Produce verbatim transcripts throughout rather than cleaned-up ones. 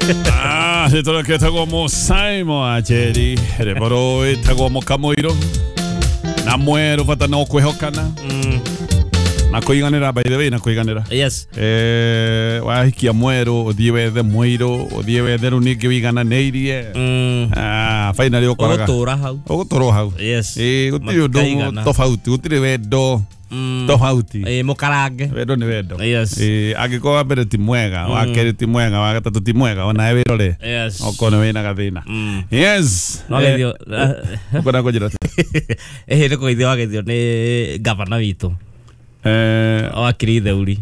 Ah, rĩtwa mo Simon Ajeri rĩboro ĩtagwo Mũkamũirũ na mwerũ bata no kwĩhokana Mm. na kũiganĩra, by the way, na kũiganĩra. Yes. Eh, wahikia mwerũ, ũthiĩ wethe mũirũ, ũthiĩ wethe rĩu ningĩ wĩigananĩirie. Mm. Ah, finally ũkoraga Ũgũtũra hau. Ũgũtũrwo hau. Yes. Ĩĩ, gũtirĩ ũndũ Matikaigana. tofauti, gũtirĩ wendo Mm. tofauti. Ĩĩ, mũkarange. Wendo nĩ wendo. Yes. Ĩĩ, angĩkorwo wa mbere ti mwega, wa kerĩ ti mwega, wa gatatũ ti mwega, onawe wĩrore Yes. okorwo nĩ wĩna gathĩna. Mm. Yes. No geithio. Ũkwenda kũnjĩra atĩa? Ĩhĩ, nĩ kũgeithio wageithio nĩ gavana witũ. Eh, Wakiri Theuri.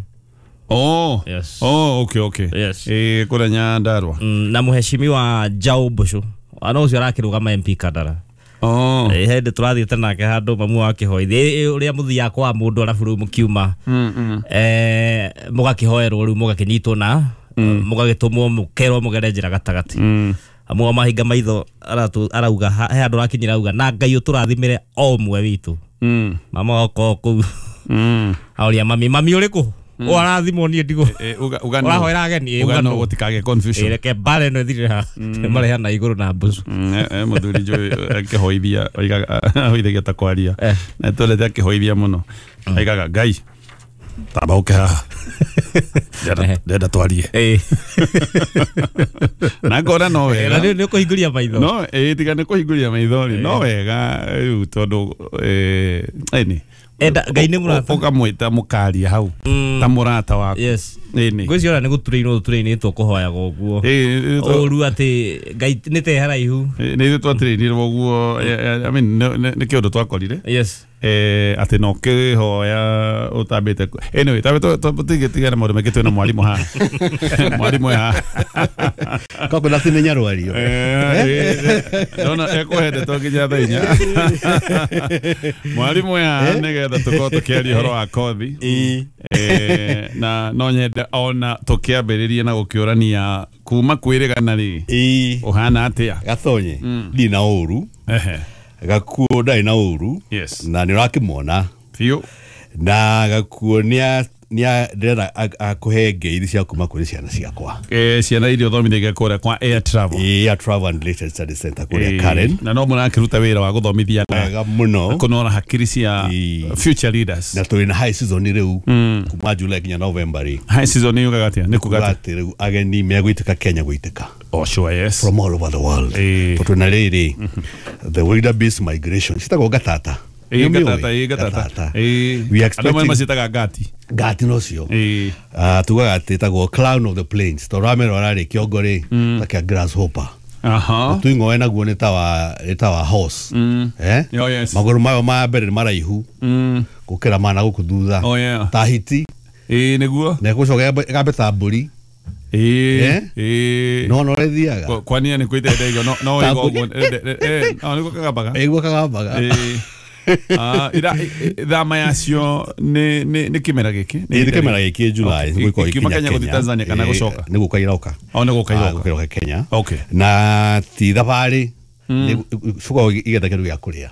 Oh. Yes. Oh, okay, okay. Yes. Eh, kũrĩa Nyandarua. Mm, na mũheshimiwa Jao Mbũcũ. Ana ũcio arakĩrũgama M P Kandara. Oh. Ĩ, hĩndĩ tũrathiĩte nake handũ mamu wakĩhoithia ũrĩa mũthiaga kwa mũndũ arabu rĩu mũkiuma Mm, mm. eh, mũgakĩhoerwo, rĩu mũgakĩnyitwo na mũgagĩtũmwo, mũkerwo mũgere njĩra gatagatĩ. Mm. Amwe mahinga maitho aratu- arauga ha- he handũ arakinyĩra auga na Ngai ũtũrathimĩre o ũmwe witũ. Mm. Mama okorwo kũu Mm. auria mami, mami ũrĩkũ ũ arathimwo, niĩ ndigũ. Eh, uga uga no. Ũrahoera ageni, ĩ, Uga uga no no. gũtikagĩe confusion. Ĩ, reke mbara ĩno ĩthirĩre haha, marehana igũrũ na mbucu. Mm, eh, eh, mũthuri njũĩ akĩhoithia oigaga, ahoithagia ta kwaria. Eh. Na twendete akĩhoithia mũno, aigaga, "Ngai, tamba ũke haha. Ndĩrenda- Eh. Ndĩrenda twarie." Ĩ. Na ngona no Na wega. nĩ nĩ ũkũhingũria maitho. No ĩ, tiga nĩ kũhingũria maitho rĩ, no wega rĩu tondũ eh, ĩni Enda Ngai nĩ mũrata. Ũkamwĩta mũkaria hau Mm. ta mũrata waku. Yes. Ĩni. Ngwĩciria ona nĩ gũturĩinwo tũturĩinĩtwo kũhoyaga ũguo. Ĩ, ĩ, Ũru atĩ Ngai nĩ te haraihu. Nĩ ithuĩ twatĩrĩirwo ũguo. eh, I mean, nĩ nĩ- nĩ kĩũndũ twakorire Yes. eh, atĩ no kĩhoya ũtambĩte. Anyway, tambe tũtigĩtigana maũndũ maingĩ, twĩna mwarimũ haha, mwarimũ e haha. Koguo na timenya rwario. Eh, eh, ndona ekũhe ndeto nginya thaa inya. Mwarimũ e haha nĩgetha tũkorwo tũkĩaria ũhoro wa kothi. Eh, na no nyende ona tũkĩambĩrĩrie na gũkĩũrania kuma kwĩrĩgana rĩ, Ĩĩ. ũhana atĩa? Gatonye ndirĩ na ũru. Ehe. Gakuo ndarĩ na ũru. Yes. Na nĩ ũrakĩmona. Biũ. Na Gakuo nĩa nĩa ndĩrenda akũhe ngeithi cia kuma kũrĩ ciana ciakwa. Eh, ciana iria ũthomithagia kũrĩa kwa Air Travel. Ĩĩ, Air Travel and Related Study Center kũrĩa Eh, Karen. Na no mũrakĩruta wĩra wa gũthomithia na Wega mũno. kũnora hakiri cia Ĩĩ. future leaders. Na tũrĩ na high season rĩu kuma July nginya November rĩ. High season yugaga atĩa? Nĩ kuga Kuga atĩa? atĩ rĩu ageni megũitĩka Kenya, gũitĩka Oh, sure, yes. from all over the world. Ĩĩ. Tondũ na rĩrĩ, the wildebeest migration citagwo gatata. Ĩĩ. Nĩũmĩũĩ? Gatata, ĩĩ, gatata. Ĩĩ. We are Andũ amwe expecting macĩtaga ngati. Ngati nocio. Ĩĩ. Ah, tugaga atĩ ĩtagwo clown of the plains tondũ wamĩrora rĩ, kĩongo rĩ ta kĩa grasshopper. Aha. Tuing'oe naguo nĩ ta wa nĩ ta wa horse, eh. Oh, yes. Magũrũ mayo ma mbere nĩ maraihu Mm. gũkĩra mana gũkũ thutha. Oh, yeah. Ta hiti. Ĩĩ, nĩguo. Na ĩgũcoka ĩgambe ta mbũri. Ĩĩ. Eh? Ĩĩ. No no ĩthiaga. Kwa- kwania nĩ kwĩte ndege no no Ta ĩgo mbũri. ũguo, eh, eh, no nĩguo kagambaga. Ĩguo kagambaga. Ĩĩ. Ah, ira i- i- thama yacio nĩ nĩ nĩ kĩmera gĩkĩ? Ĩĩ, nĩ kĩmera gĩkĩ, July. Okay. Nĩgũkorwo Ikiuma ikinya Kenya gũthiĩ Tanzania kana Ĩĩ, gũcoka? nĩ gũka iroka. Oh, nĩ gũka Ah, iroka. gũka iroka Kenya. Okay. Na ti thabarĩ, coka igetha kĩndũ gĩa kũrĩa.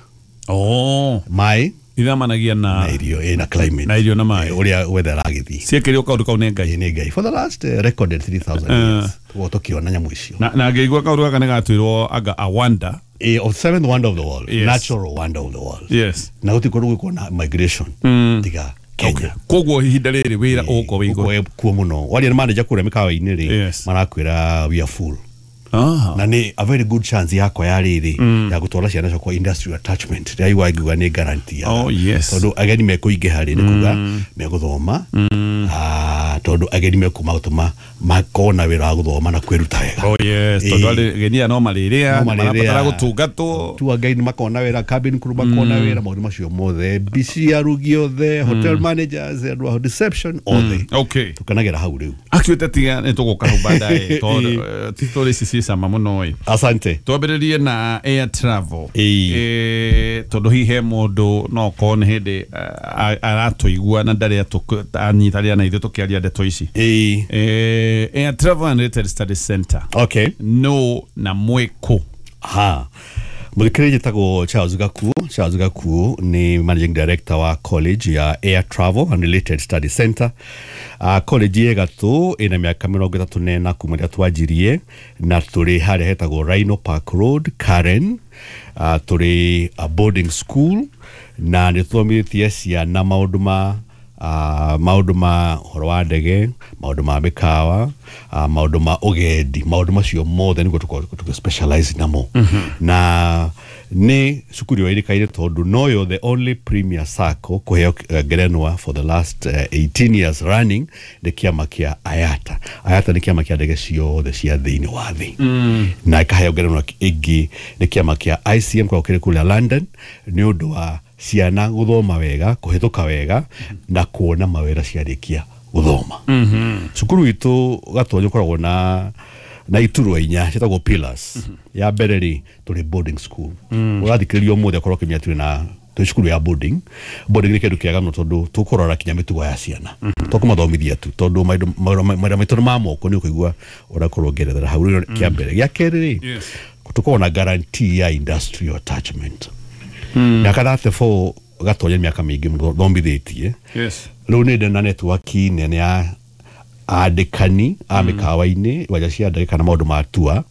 Oh. Maĩ. Ithamanagia na Na irio, ĩ, na climate. Na irio na maĩ. Ĩ, ũrĩa weather ĩragĩthiĩ. Ciekĩrio kaũndũ kau nĩ Ngai. Ĩ, nĩ Ngai, for the last uh, recorded three thousand years tũkorwo tũkĩona nyamũ icio. na na ngĩigua kaũndũ gaka nĩ gatuĩrwo anga a wonder. Ĩ, of seventh wonder of the world. Yes. Natural wonder of the world. Yes. Na gũtirĩ kũndũ gwĩkwo na migration tiga Kenya. Koguo ihinda rĩrĩ wĩra ũgũkorwo wĩ igũrũ. Gũkorwo kuo mũno. Waria na manager kũrĩa mĩkawa-inĩ rĩ, Yes. marakwĩra we are full. Ah. Na nĩ a very good chance yakwa ya rĩrĩ ya gũtwara ciana ciakwa industrial attachment rĩrĩa igua nĩ guarantee ya Oh, yes. tondũ ageni mekũingĩha rĩ, nĩ kuga megũthoma. Ah, tondũ ageni mekuma gũtũma makorwo na wĩra wa gũthoma na kwĩruta wega. Oh yes, tondũ Ĩĩ. arĩ ageni aya no marĩrĩa, No marĩrĩa. marabatara gũtungatwo. Tour guide makona wĩra, cabin crew makona wĩra, maũndũ macio mothe, M B C, arugi othe, hotel managers, andũ a reception othe. Okay. Tũkenagĩra hau rĩu. Actually, tiga nĩ tũgũka hau baadaye tondũ eh, ti story ici ciĩ cama mũno ĩ. Asante. Twambĩrĩrie na air travel. Ĩĩ. Eh, tondũ hihi he mũndũ no okorwo nĩ hĩndĩ eh, aratũigua na ndarĩ anyitanĩra na ithuĩ tũkĩaria ndeto ici. Ĩĩ. Eh, Air Travel and Related Studies Center okay no na mwĩkũ? Ha, Mũthikĩrĩria, njĩtagwo Charles Gakuo. Charles Gakuo nĩ managing director wa college ya Air Travel and Related Study Center. uh, college ĩ gatũ ĩna mĩaka mĩrongo ĩtatũ na ĩna kuma rĩrĩa twanjirie, na tũrĩ harĩa hetagwo Rhino Park Road, Karen. uh, tũrĩ a boarding school na nĩ tũthomithĩtie ciana maũndũ ma uh, maũndũ ma ũhoro wa ndege, maũndũ ma mĩkawa, uh, maũndũ ma ũgendi, maũndũ macio mothe nĩguo tũkoragwo tũkĩ specialize namo. mm -hmm. Na nĩ cukuru ĩyo ĩrĩkaine tondũ noyo the only premier sacco kũheo uh, ngerenwa for the last uh, eighteen years running nĩ kĩama kĩa IATA. IATA nĩ kĩama kĩa ndege ciothe cia thĩinĩ wa thĩ. mm. Na ĩkaheo ngerenwa ĩngĩ nĩ kĩama kĩa I C M kwa kĩrĩ kũrĩa London nĩ ũndũ wa ciana gũthoma wega, kũhĩtũka wega na kuona mawĩra ciarĩkia gũthoma. mm -hmm. Cukuru itũ Gatonyo ũkoragwo na na iturwa inya ciĩtagwo pillars. mm -hmm. Ya mbere rĩ, tũrĩ boarding school. mm. Ũrathikĩrĩria ũmũthĩ akorwo ũkĩmenya tũrĩ na tũrĩ cukuru ya boarding. Boarding nĩ kĩndũ kĩega mũno tondũ tũkũrora kinya mĩtugo ya ciana. mm -hmm. Tũkũmathomithia tu tondũ mawĩra maitũ nĩ ma moko, nĩ ũkũigua ũrakorwo ũngĩerethera hau. Rĩu kĩa mbere. Gĩa kerĩ rĩ, tũkoragwo na guarantee ya industrial attachment. Mĩaka thirty-four Gatonya mĩaka mĩingĩ mũno thomithĩtie. Rĩu nĩ ndĩ na network nene ya andĩkani a mĩkawa-inĩ, iwanja cia ndege kana maũndũ ma tour,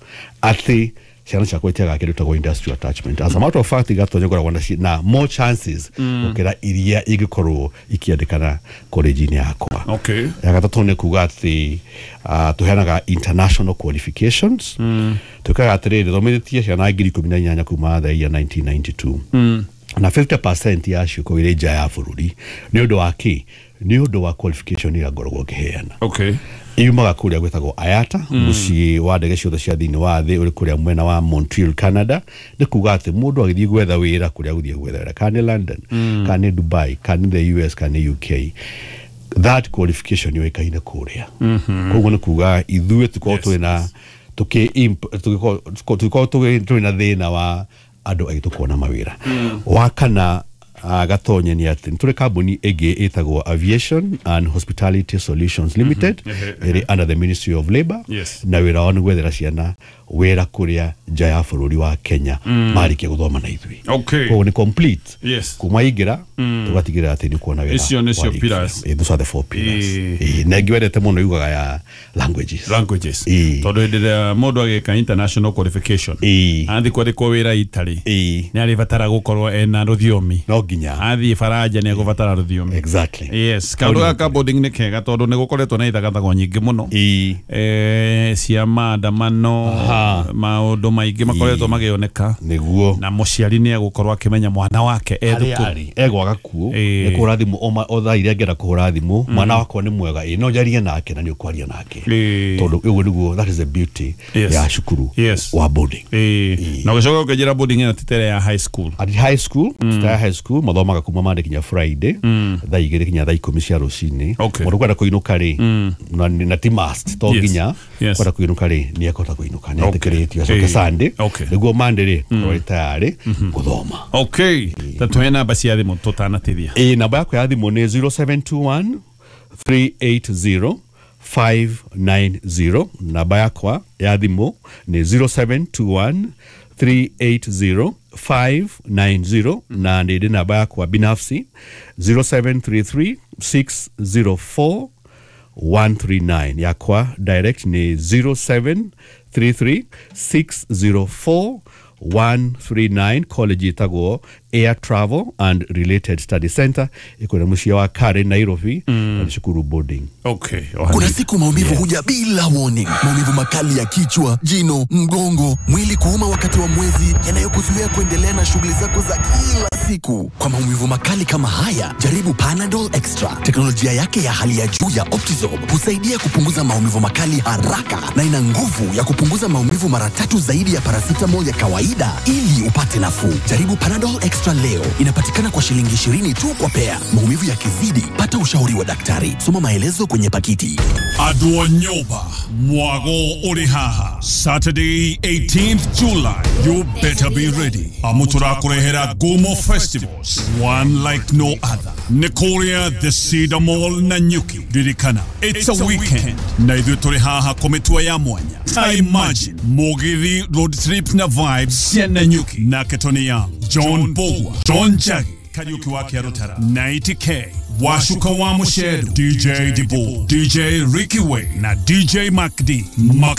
atĩ ciana ciakwa itiagaga kĩndũ gĩtagwo industrial attachment. As a matter of fact, Gatonya ngoragwo na na more chances gũkĩra iria ingĩkorwo ikĩandĩkana college-inĩ yakwa. Okay. Ya gatatũ nĩ kuga atĩ uh, tũheanaga international qualifications. mm. Twĩkaga atĩrĩrĩ, thomithĩtie ciana ngiri ikũmi na inyanya kuma the year nineteen ninety-two. mm. Na fifty percent yacio kũgĩrĩ nja ya bũrũri. Nĩ ũndũ wa kĩ? Nĩ ũndũ wa qualification ĩrĩa ngoragwo ngĩheana. Okay. Yumaga kũrĩa gwĩtagwo IATA, mũciĩ wa ndege ciothe cia thĩinĩ wa thĩ ũrĩ kũrĩa mwena wa Montreal, Canada. Nĩ kuga atĩ mũndũ agĩthiĩ gwetha wĩra kũrĩa agũthiĩ gwetha wĩra, kana nĩ London, mm. kana nĩ Dubai, kana nĩ the U S, kana nĩ U K, that qualification yũĩkaine kũrĩa. mm -hmm. Koguo nĩ kuga ithuĩ tũkorwo twĩ na tũgĩkorwo twĩ na thĩna wa andũ aitũ kuona mawĩra. mm. Wa kana uh, Gatonye nĩ atĩ tũrĩ kambuni ĩngĩ ĩtagwo Aviation and Hospitality Solutions Limited, mm -hmm. ĩrĩ under the Ministry of Labour. Yes. Na wĩra wao nĩ gwethera ciana wĩra kũrĩa nja ya bũrũri wa Kenya mm. marĩkia gũthoma na ithuĩ. Okay. Koguo nĩ complete. Yes. Kuma ingĩra mm. tũgatigĩrĩra atĩ nĩ kuona wĩra. Icio nĩcio pillars. Eh, those are the four pillars. Eh, na ĩngĩ wendete mũno yugaga ya languages. Languages. Tondũ hĩndĩ ĩrĩa mũndũ agĩka international qualification, athiĩ kwandĩkwo wĩra Italy, nĩ arĩbatara gũkorwo ena rũthiomi. No nginya. Athiĩ Faranja nĩ egũbatara rũthiomi. Exactly. Yes. Kaũndũ gaka boarding nĩ kega tondũ nĩ gũkoretwo na ithagathago nyingĩ mũno. Eh, cia maandamano, maũndũ maingĩ makoretwo magĩoneka. Nĩguo. Na mũciari nĩ egũkorwo akĩmenya mwana wake e thukuru. Egwaga kuo, nĩ kũhũra thimũ o thaa iria angĩenda kũhũra thimũ, mwana wakwa nĩ mwega, ĩ no njarie nake na nĩ ũkwaria nake. Tondũ ũguo nĩguo, that is the beauty ya cukuru wa boarding. Na ũgĩcoka ũkĩnjĩra boarding ĩno ti ta ĩrĩa ya high school. At high school, ti ta ya high school, mathomaga kuma Monday kinya Friday, thaa igĩrĩ kinya thaa ikũmi cia rũcinĩ. Mũndũ kwenda kũinũka rĩ, na ti must, to nginya kwenda kũinũka rĩ, nĩ ekũhota kũinũka, nĩ etĩkĩrĩtio acoke Sunday, nĩguo Monday rĩ, korwo tayarĩ gũthoma. Okay. Ta tũhe namba cia thimũ tũtanatithia. Ĩ, namba yakwa ya thimũ nĩ zero seven two one three eight zero five nine zero. Namba yakwa ya thimũ nĩ zero seven two one three eight zero five nine zero, na nĩ ndĩ namba yakwa binafsi zero seven three three six zero four one three nine. Yakwa direct ni zero seven three three six zero four one three nine. College ĩtagwo Air Travel and Related Study Center, iko mũciĩ wa Karen, Nairobi, na cukuru boarding. Okay. Kuna siku maumivu huja bila warning. Maumivu makali ya kichwa, jino, mgongo, mwili kuuma wakati wa mwezi, yanayokuzuia kuendelea na shughuli zako za kila siku. Kwa maumivu makali kama haya, jaribu Panadol Extra. Teknolojia yake ya hali ya juu ya Optizorb husaidia kupunguza maumivu makali haraka na ina nguvu ya kupunguza maumivu mara tatu zaidi ya paracetamol ya kawaida ili upate nafuu. Jaribu Panadol Extra leo. Inapatikana kwa shilingi ishirini tu kwa pea. Maumivu yakizidi, pata ushauri wa daktari. Soma maelezo kwenye pakiti. Adwo Nyoba, Mwago Urihaha, Saturday eighteenth July. You better be ready. Amutura kurehera Gumo Festival. Festivals, one like no other. Nĩ kũrĩa The Cedar Mall Nanyuki. Ririkana, it's a weekend na ithuĩ tũrĩ haha kũmĩtua ya mwanya. Ta imagine Mugithi road trip na vibes cia Nanyuki nake Tony Young, John Bogwa, John Jagi, Kariuki wa Kĩarũtara, ninety K, Washuka wa Mushedu, D J Debo, D J Ricky Way na D J Mac D. Maka